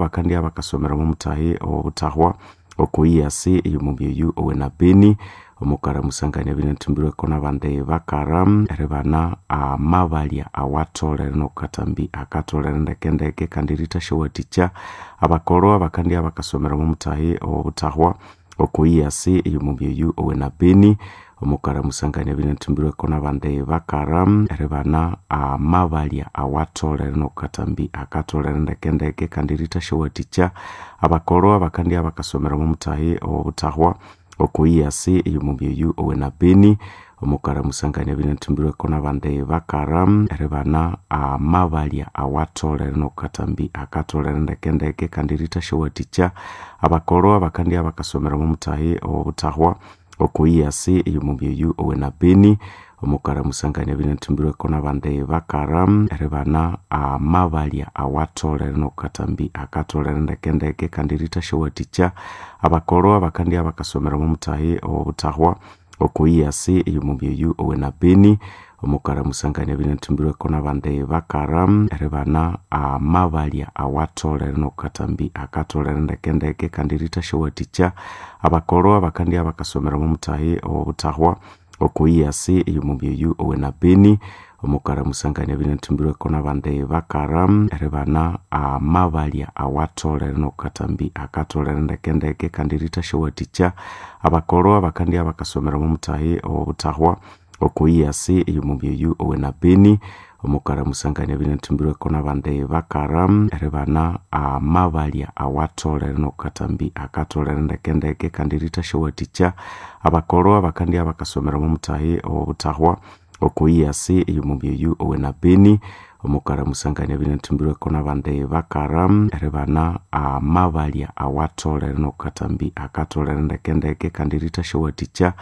Bakandya bakasomera omumuthahi owobuthahwa okuyiyasi eyomubyeyu owena Beni omukara musangania binathimbirweko nabandi bakara eribana amabalya awatholere nokukathambi akatholere ndekendeke kandi erithasyawathicha abakolhwa bakandya bakasomera omumuthahi owobuthahwa okuyiyasi eyomubyeyu owena Beni omukara musangania binathimbirweko nabandi bakara eribana amabalya awatholere nokukathambi akatholere ndekendeke kandi erithasyawathicha abakolhwa bakandya bakasomera omumuthahi owobuthahwa okuyiyasi eyomubyeyu owena Beni omukara musangania binathimbirweko nabandi bakara eribana amabalya awatholere nokukathambi akatholere ndekendeke kandi erithasyawathicha abakolhwa bakandya bakasomera omumuthahi owobuthahwa okuyiyasi eyomubyeyu owena Beni omukara musangania binathimbirweko nabandi bakara eribana amabalya awatholere nokukathambi akatholere ndekendeke kandi erithasyawathicha abakolhwa bakandya bakasomera omumuthahi owobuthahwa okuyiyasi eyomubyeyu owena Beni omukara musangania binathimbirweko nabandi bakara eribana amabalya awatholere nokukathambi akatholere ndekendeke kandi erithasyawathicha abakolhwa bakandya bakasomera omumuthahi owobuthahwa okuyiyasi eyomubyeyu owena Beni omukara musangania binathimbirweko nabandi bakara eribana amabalya awatholere nokukathambi akatholere ndekendeke kandi erithasyawathicha abakolhwa bakandya bakasomera omumuthahi owobuthahwa okuyiyasi eyomubyeyu owena Beni omukara musangania binathimbirweko nabandi bakara eribana amabalya awatholere nokukathambi akatholere ndekendeke kandi erithasyawathicha abakolhwa bakandya bakasomera omumuthahi owobuthahwa okuyiyasi eyomubyeyu owena Beni omukara musangania binathimbirweko nabandi bakara eribana amabalya awatholere nokukathambi akatholere ndekendeke kandi erithasyawathicha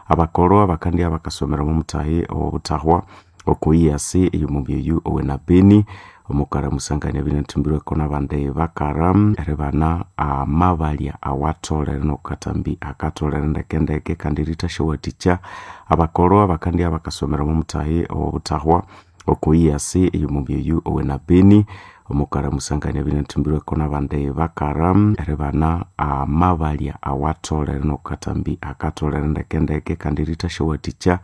abakolhwa bakandya bakasomera omumuthahi owobuthahwa okuyiyasi eyomubyeyu owena Beni omukara musangania binathimbirweko nabandi bakara eribana amabalya awatholere nokukathambi akatholere ndekendeke kandi erithasyawathicha abakolhwa bakandya bakasomera omumuthahi owobuthahwa okuyiyasi eyomubyeyu owena Beni omukara musangania binathimbirweko nabandi bakara eribana amabalya awatholere nokukathambi akatholere ndekendeke kandi erithasyawathicha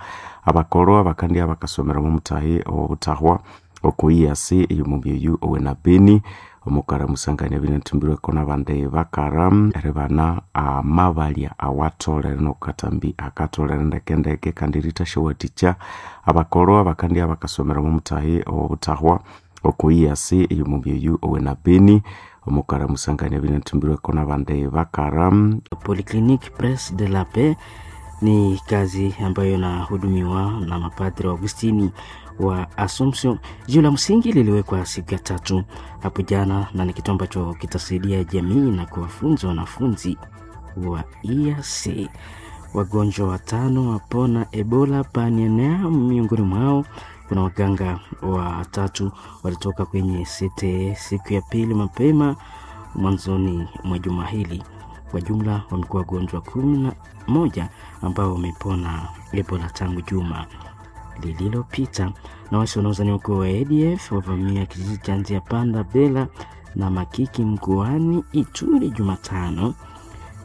abakolhwa bakandya bakasomera omumuthahi owobuthahwa okuyiyasi eyomubyeyu owena Beni omukara musangania binathimbirweko nabandi bakara eribana amabalya awatholere nokukathambi akatholere ndekendeke kandi erithasyawathicha abakolhwa bakandya bakasomera omumuthahi owobuthahwa okuyiyasi eyomubyeyu owena Beni omukara musangania binathimbirweko nabandi bakara. Polyclinique Presse de la Paix ni kazi ambayo inahudumiwa na mapadri wa Augustini wa Assumption. Jiwe la msingi liliwekwa siku ya tatu hapo jana, na ni kitu ambacho kitasaidia jamii na kuwafunza wanafunzi wa EAC. Wagonjwa watano wapona Ebola panienea, miongoni mwao kuna waganga watatu walitoka kwenye CTE siku ya pili mapema mwanzoni mwa juma hili. Kwa jumla wamekuwa wagonjwa 11 ambao wamepona Ebola tangu juma lililopita. Na wasi wanaozaniwa kuwa wa ADF wavamia kijiji cha Nzia Panda Bela na Makiki mkoani Ituri Jumatano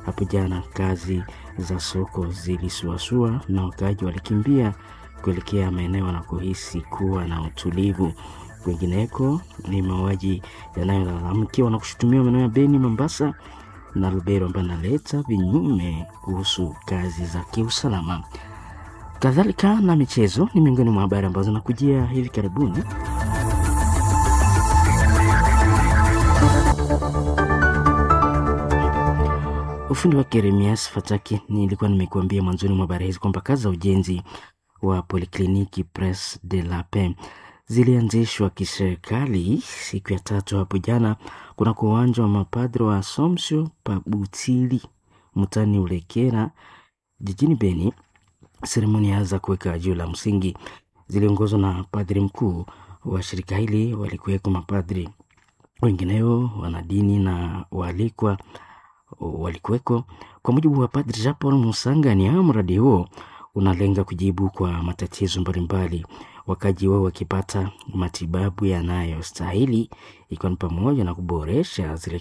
hapo jana. Kazi za soko zilisuasua na wakaaji walikimbia kuelekea maeneo wanakohisi kuwa na utulivu. Kwingineko ni mauaji yanayolalamikiwa na kushutumiwa maeneo ya Beni, Mombasa na Lubero ambayo analeta vinyume kuhusu kazi za kiusalama. Kadhalika na michezo ni miongoni mwa habari ambazo nakujia hivi karibuni. Ufundi wa Jeremias Fataki, nilikuwa nimekuambia mwanzoni mwa habari hizi kwamba kazi za ujenzi wa Polikliniki Presse de la Paix zilianzishwa kiserikali siku ya tatu hapo jana kunako uwanja wa mapadri wa Assumption Pabutili mtani Ulekera jijini Beni. Seremoni za kuweka jiwe la msingi ziliongozwa na padri mkuu wa shirika hili, walikuweko mapadri wengineo, wanadini na waalikwa walikuweko. Kwa mujibu wa Padri Jean Paul Musanganya, mradi huo unalenga kujibu kwa matatizo mbalimbali wakaji wao wakipata matibabu yanayostahili, ikiwa ni pamoja na kuboresha zile